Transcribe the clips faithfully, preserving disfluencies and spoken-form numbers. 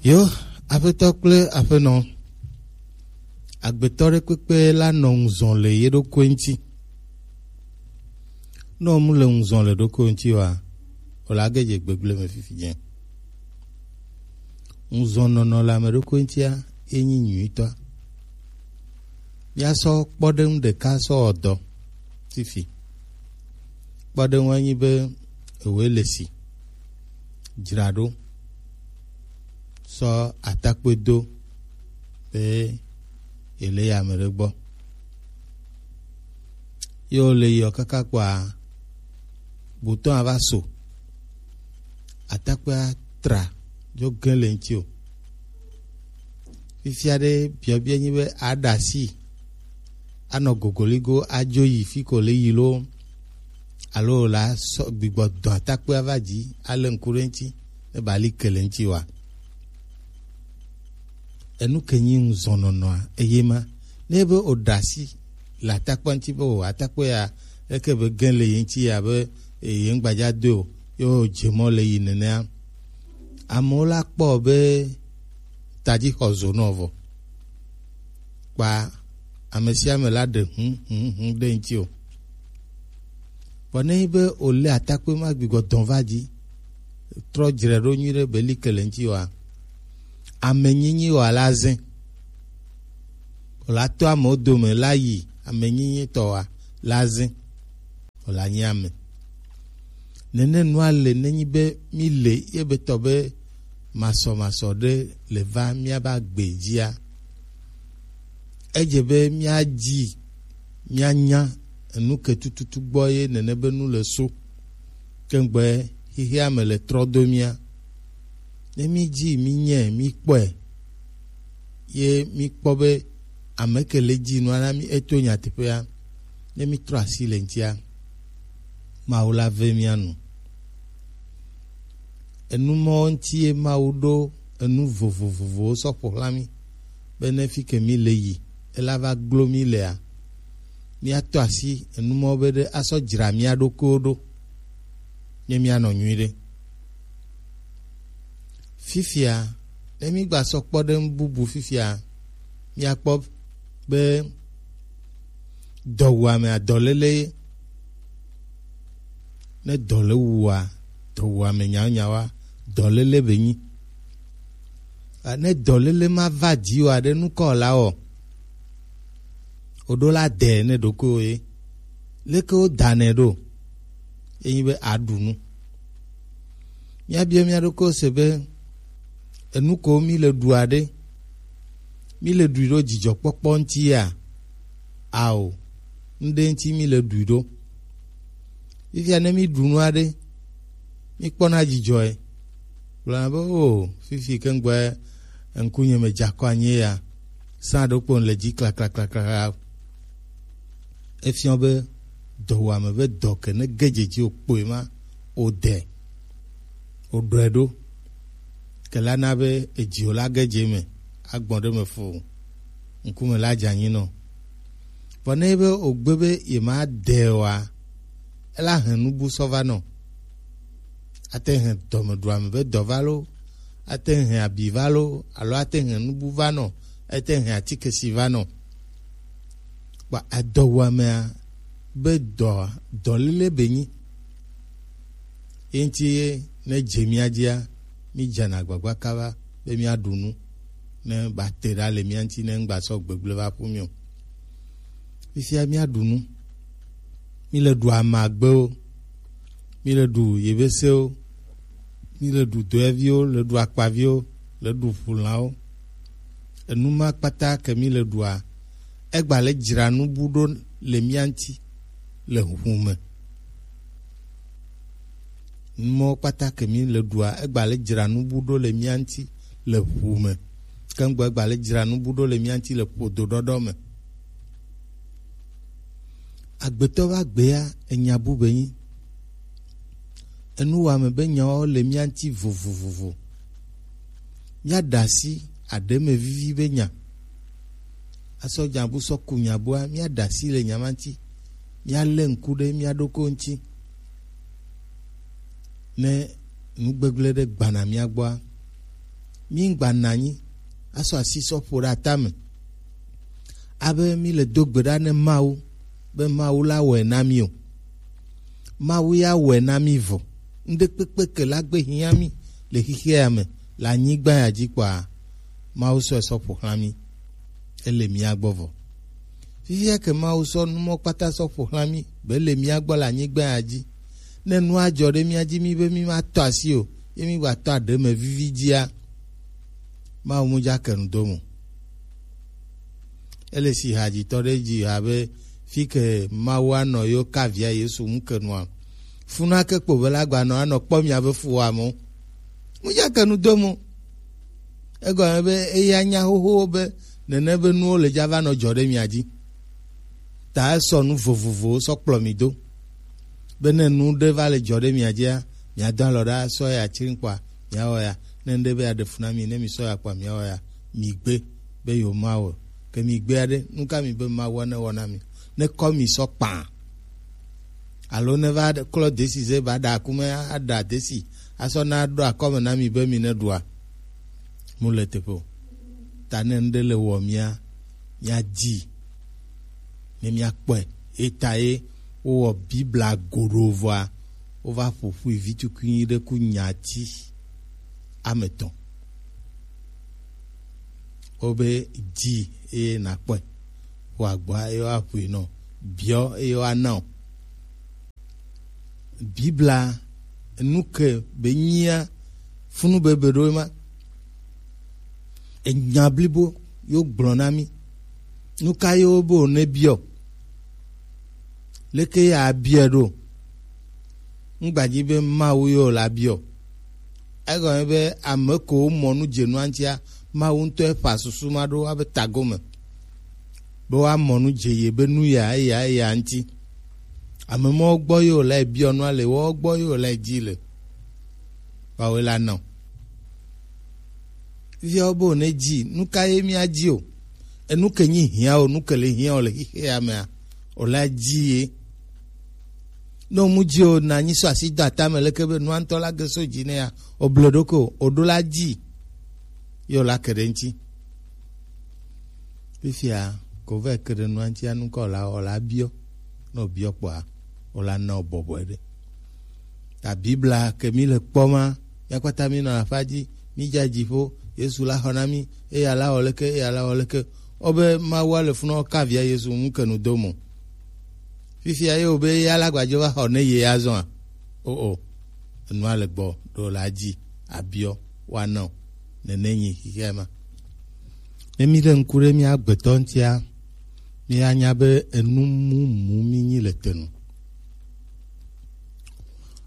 Yo, aƒetɔ kple aƒenɔ, agbetɔ ɖe kpekpe la nɔ ŋuzɔn le ye ɖokui ŋuti. Ne mu le ŋuzɔn le ɖokui ŋuti oa, o la ge dze gbegble me fifi dze. Ŋuzɔnnɔnɔ le ame ɖokui ŋutia ye nyi nyuitɔa. Míasɔ kpɔɖeŋu ɖeka sɔ wɔ dɔ fifi. Kpɔɖeŋua nyi be ewoe le si dzra ɖo sɔ atakpoe do be ele yi ame ɖe gbɔ. Ye wole yiɔ kaka kpɔa, botɔa va so. Atakpoea tra dzo ge le ŋuti o. Fifia ɖe biɔbiɔ nyi be aɖa asi anɔ gogoligo adzo yi fi ko le yi lo alo la sɔ gbigbɔ dɔn atakpoea va dzi ale ŋku ɖe ŋuti ne ba li ke le ŋuti wa. Enu ke nyi ŋuzɔnɔnɔa eye ma ne be o ɖa asi le atakpoa ŋuti be o atakpoe ya eke be ge le ye ŋuti ya be ye ŋgbadza do o ye o dze mɔ le yi nenea. Amewo la kpɔ be tadzi xɔ zo nɔ vɔ. Kpa ame sia ame la ɖe hũ hũ hũ ɖe ŋuti o. Vɔ ne nyi be wòlé atakpui ma gbigbɔ dɔn va dzi, trɔ dzre ɖo nyui ɖe be li ke le ŋuti oa, ame nyinyi oa la zẽ. Wòla to amewo dome la yi ame nyinyi tɔ oa la zẽ. Wòla nyi ame. Nene nua le nenyi be mi le ye be tɔ be masɔmasɔ ɖe le va míabe agbe dzia. Edze be míadzi míanya enu ke tututu gbɔ ye nene be nu le so. Kengbe xexea me le trɔ do mía. Ne mídzi mínyɛ míkpɔe ye míkpɔ be ame ke le dzi nua na mí eto nyateƒea, ne mítrɔ asi le ŋutia, Mawu la ve mía nu. Enu mɔwo ŋuti ye Mawu ɖo enu vovovovowo sɔ ƒo xlã mí be ne fi ke mí le yi ela va glo mí lea, míatɔ asi enu mɔwo be ɖe asɔ dzra mía ɖokuiwo ɖo ne míanɔ nyuiɖe. Fifia, ne mígba sɔ kpɔ ɖe nu bubu fifia, míakpɔ be dɔwuamea dɔléle ye. Ne dɔ le wua, dɔwuame nyaonyaoa, dɔléle be nyi. A, ne dɔléle ma va dzi oa, ɖe nukɔ la wɔ. Woɖo la de ne ɖokuiwo ye. Leke wodanɛ ɖo? Enyi be aɖu nu. Míabiɔ mía ɖokuiwo se be enu ko mí le ɖua ɖe, mí le ɖui ɖo dzidzɔkpɔkpɔ ŋuti ya? Ao, ŋɖe ŋuti mí le ɖui ɖo. Fifia ne mí ɖu nua ɖe, mí kpɔna dzidzɔe. Gblɔna be, o, fifi ke ŋgbɔe ŋkunye me dze akɔ anyi ya, sã ɖokpo le dzi klaklaklakla. Efiɔ be dɔwuame be dɔ ke ne ge dzedzi o kpoe ma o de o ɖɔe ɖo. Ke la na be edzi o la ge dze me agbɔn ɖe me fo ŋkume la dze anyi nɔ. Vɔ ne be o gbe be ye ma de oa, ela hɛn nubu sɔ va nɔ. Ate hɛn dɔmeɖuame be dɔ va lo, ate hɛn abi va lo, alo ate hɛn nubu va nɔ, ate hɛn atike si va nɔ. Kpa edɔwuamea be dɔ, dɔléle be nyi. Ye ŋuti ye ne dze mía dzia, mí dzena agbagba kaba be míaɖu nu ne ba te ɖa le mía ŋuti ne ŋgba sɔ gbegble va ƒu mí o. Fifia míaɖu nu. Mí le ɖu amagbewo, mí le ɖu yebesewo, mí le ɖu doeviwo, le ɖu akpaviwo, le ɖu ʋulãwo. Enu ma kpata ke mí le ɖua, egba le dzra nubu ɖo le mía ŋuti le ʋu me. Numɔwo kpata ke mí le ɖua, egba le dzra nubu ɖo le mía ŋuti le ʋu me. Kengbe egba le dzra nubu ɖo le mía ŋuti le ƒodo ɖɔɖɔ me. Agbetɔ be agbea enya bu be nyi. Enuwame be nyawo le mía ŋuti vovovovo. Míaɖe asi aɖeme vivi be nya. Asɔ nyabu sɔ ku nyabua, míaɖe asi le nya ma ŋuti. Míalé ŋku ɖe mía ɖokui ŋuti. Ne nugbegblẽ ɖe gbana mía gbɔa, Mí ŋgba nɔ anyi asɔ asi sɔ ƒo ɖe atame abe mí le do gbe ɖa ne Mawu be Mawu la wɔe na mí o. Mawu ya wɔe na mí vɔ. Ŋɖekpekpe ke la gbe hiã mí le xixea me le anyigba ya dzi kpɔa, Mawu sɔe sɔ ƒo xlã mí. Ele mía gbɔ vɔ. Fifia ke Mawu sɔ nu mɔ kpata sɔ ƒo xlã mí be le mía gbɔ le anyigba ya dzi. Ne nua dzɔ ɖe mía dzi mí be mí ma tɔ asi o, ye mí gba tɔ aɖe me vivi dzia, Mawu mu dza ke nu do mo. Ele si hadzitɔ ɖe dzi abe fi ke Mawu anɔ yo ka via Yesu ŋu ke nua. Funa ke kpo be la gba nɔ anɔ kpɔ mia be fuwa mo. Mu dza ke nu do mo. Egɔme be eya nya xoxo be nene be nuwo le dza va nɔ dzɔ ɖe mia dzi. Ta esɔ nu vovovowo sɔ kplɔ mi do. Be ne nu ɖe va le dzɔ ɖe mia dzia, mia do alɔ ɖa sɔ ya tsri kpɔa, mia wɔ ya. Ne ŋɖe be ya ɖe fu na mi, ne mi sɔ ya kpɔa, mia wɔ ya. Mi gbe be yo ma wɔ. Ke mi gbe aɖe, nu ka mi be Mawu ne wɔ na mi? Ne kɔ mi sɔ kpã. Alo ne va ɖe-, klɔ desi ze ba ɖa akume aɖa desi. Asɔ na ɖo akɔme na mi be mi ne ɖua. Mu le teƒe o. Ta ne ŋɖe le wɔ mia, mia dzi. Ne mia kpɔe. Eta ye wowɔ Biblia goɖo vɔa, wova ƒo ƒui vi tukui ɖe ku nyati ame etɔ̃. Wobe dzi eye nakpɔe. Ƒo agba eye woaƒoe nɔ. Biɔ eye woana o. Biblia nu ke be nyia funu bebe ɖo ema. Enya blibo yo gblɔ na mí. Nu ka yo be wòne biɔ? Leke ya biɔ ɖo? Ŋgbadzi be Mawu yo la biɔ. Egɔme be ame ko mɔ nu dze nua ŋutia, Mawu ŋutɔ eƒa susu ma ɖo abe tagome. Be woamɔ nu dze ye be nu ya, eya, eya ŋuti. Ame mɔwo gbɔ yo la biɔ nua le, wo gbɔ yo la dzi le. Woawoe la nɔ. Viawo be wòne dzi, nu ka ye míadzi o? Enu ke nyi hiã o, nu ke le hiã o le xixea mea, o la dzi ye. Ne o mu dzi o, na nyi sɔ asi do atame leke be nua ŋutɔ la ge so dzi ne ya, o ble ɖo ko, o ɖo la dzi. Ye o la ke ɖe ŋuti. Fifia, ko vɛ ke ɖe nua ŋuti anu kɔ la, o la biɔ. Ne o biɔ kpɔa, o la na o bɔbɔe ɖe. Ta Biblia ke mi le kpɔ ma, mía kpata mi nɔ aƒa dzi, mi dza dziƒo, Yesu la xɔ na mi, eya la wɔ leke, eya la wɔ leke. Obe Mawu le funɔ ka via Yesu ŋu ke nu do mo. Fifia ye wo be ya la gbadzo va xɔ ne ye azɔa. O o. Enua le gbɔ, ɖo la dzi, abiɔ, wa nɔ. Nene nyi xixia ma. Ne mi ɖe ŋku ɖe mía gbetɔ ŋutia, mía nya be enu mumu mi nyi le te nu.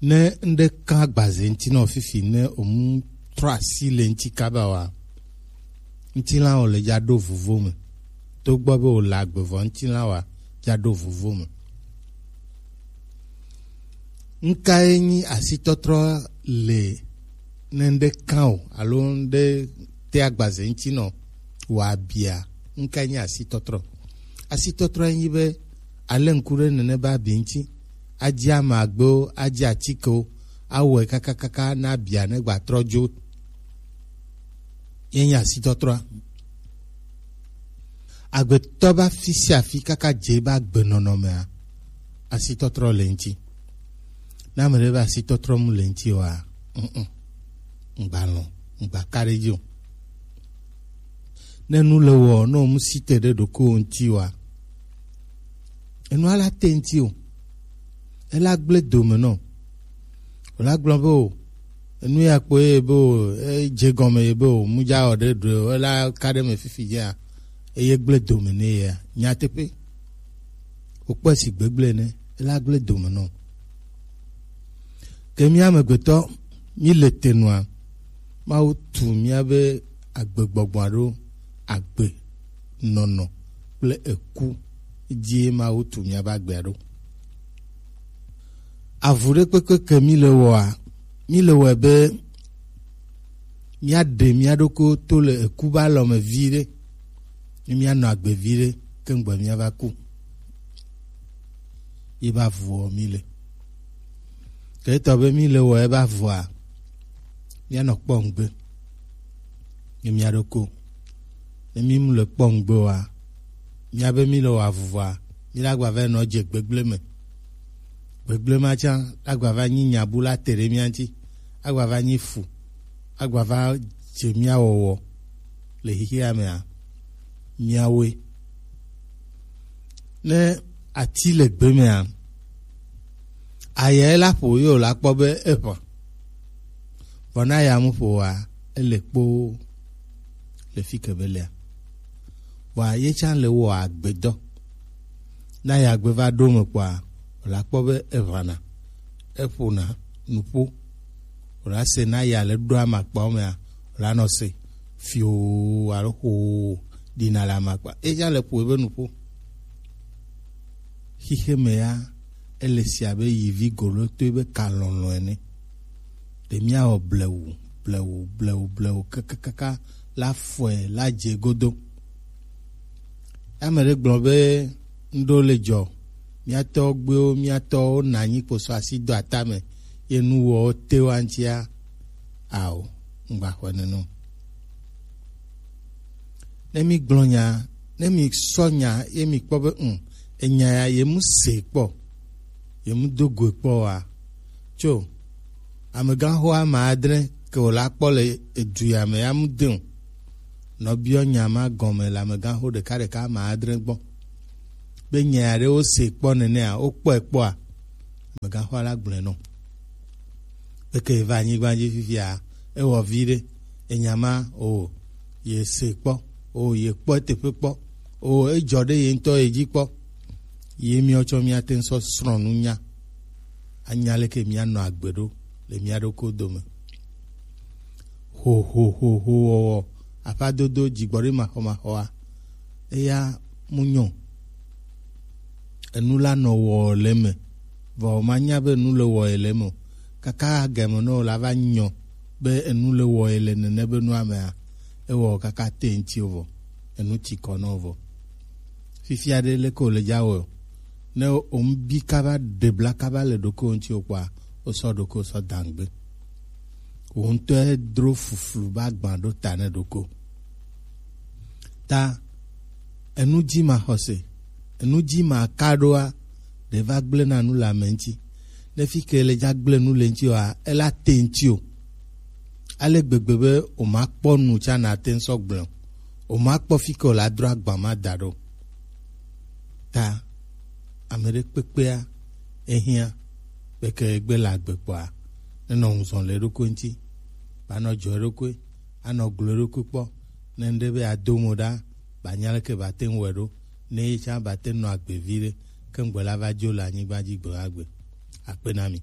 Ne ŋɖe kan agbaze ŋuti nɔ fifi ne omu trɔ asi le ŋuti kaba wa, ŋutilã o le dza ɖo vuvo me. To gbɔ be o le agbe vɔ ŋutilã wa dza ɖo vuvo me. Ŋkae nyi asitɔtrɔ le ne ŋɖe kan o alo ŋɖe te agbaze ŋuti nɔ wa bia? Ŋkae nyi asitɔtrɔ? Asitɔtrɔ nyi be ale ŋku ɖe nene ba bi ŋuti. Adzi ama agbewo, adzi atikewo, awɔe kakakaka na bia ne gba trɔ dzo. Ye nyi asitɔtrɔa. Agbetɔ ba fi sia fi kaka dze ba gbe nɔnɔmea, asitɔtrɔ le ŋuti. Ne ame ɖe be asitɔtrɔ mu le ŋuti oa, mm, mm, ŋgba lɔ̃, ŋgba ka ɖe edzi o. Ne nu le wɔ, ne o mu si te ɖe ɖokuiwò ŋuti oa, enua la te ŋuti o. Ela gblẽ dome nɔ. Wòla gblɔ be o, enu ya kpo ye be o, edze gɔme ye be o, mudza wɔ ɖe ɖoe o, ela ka ɖe me fifi dzea, eye gblẽ dome nɛ yea. Nyateƒe. Wòkpɔe si gbegblẽ ene, ela gblẽ dome nɔ. Ke mía amegbetɔ, mí le te nua, Mawu tu míabe agbegbɔgbɔa ɖo agbe nɔnɔ kple eku dzie Mawu tu míabe agbea ɖo. Avu ɖe kpekpe ke mí le wɔa, mí le wɔe be míaɖe mía ɖokui to le eku be alɔ me viɖe, ne míanɔ agbe viɖe, ke ŋgbe míava ku. Ye be avuɔ mí le. Ke etɔ be mí le wɔe be avua, míanɔ kpɔ ŋgbe. Nye mia ɖoko. Ne mi mu le kpɔ ŋgbe wa, mia be mi le wa vuvɔa, mi la gba va nɔ dze gbegble me. Gbegble ma tsa la gba va nyi nyabu la te ɖe mia ŋuti, agba va nyi fu, agba va dze mia wɔwɔ le xixea mea, miawoe. Ne ati le gbe mea, ayae la ƒo ye wòla kpɔ be eʋã. Vɔ ne aya mu ƒo oa, ele kpoo le fi ke be lea. Vɔa ye tsã le wɔ agbedɔ. Ne aya gbe va ɖo me kpɔa, wòla kpɔ be eʋãna, eƒona nuƒo. Wòla se ne aya le ɖo amakpawo mea, wòla nɔ se fioo alo xoo ɖina le amakpa. Ye tsã le ƒo ebe nuƒo. Xixe me ya, ele si abe yivi golotoe be kalɔlɔ ene. Ɖe míawɔ blewu, blewu, blewu, blewu kakakaka la fɔe la dze godo. Ame ɖe gblɔ be ŋɖo le dzɔ, míatɔ gbewo, míatɔwo na anyi kposɔ asi do atame, ye nuwɔwo te wa ŋutia, ao, ŋgbaxɔe nene o. Ne mi gblɔ nya, ne mi sɔ nya, ye mi kpɔ be, ŋ, enya ya, ye mu se kpɔ, ye mu do goe kpɔ wa. Tso, amegãxo ame adre ke wòla kpɔ le edu ya me ya mu de o. Nɔ biɔ nya ma gɔme le amegãxo ɖeka ɖeka ame adre gbɔ. Be nya ya ɖe wo se kpɔ nenea, wo kpɔe kpɔa, amegãxoa la gblɔe nɔ. Eke va anyigba dzi fifia, ewɔ vi ɖe, enya ma, o, ye se kpɔ, o, ye kpɔ teƒe kpɔ, o, edzɔ ɖe ye ŋutɔ ye dzi kpɔ. Ye míawo tsɔ míate ŋu sɔ srɔ̃ nunya, anya leke míanɔ agbe ɖo le mía ɖokui dome. Ho, ho, ho, ho wɔwɔ, aƒadodo, dzigbɔɖi maxɔmaxɔa, eya mu nyɔ. Enu la nɔ wɔ le eme, vɔ manya be enu le wɔ ye le eme o. Kaka game nɔ la va nyɔ be enu le wɔ ye le nene be nua mea, ewɔ kaka te ŋuti o vɔ, enu tsi kɔ nɔ vɔ. Fifia ɖe leke wòle dza wɔ o. Ne wòmu bi kaba ɖe bla kaba le ɖokuiwò ŋuti o kpɔa, wosɔ ɖokuiwò sɔ dangbe. Wò ŋutɔe dro fuflu ba gbã ɖo ta ne ɖokuiwò. Ta enu dzi maxɔse, enu dzi maka ɖoa, ɖe va gblẽ na nu le ame ŋuti. Ne fi ke le dza gblẽ nu le ŋuti oa, ela te ŋuti o. Ale gbegbe be wòmakpɔ nu tsã nate ŋu sɔ gblẽ o. Wòmakpɔ fi ke wòla dro agba ma da ɖo. Ta ame ɖe kpekpea ehiã be ke egbe le agbe kpɔa, nenɔ ŋuzɔ le eɖokui ŋuti, banɔ dzɔ eɖokui, anɔ glo eɖokui kpɔ, ne ŋɖe be ado mo ɖa, banya leke bate ŋu wɔe ɖo, ne ye tsã bate nɔ agbe vi ɖe, ke ŋgbe la va dzo le anyigba dzi gbe ma gbe. Akpe na mi.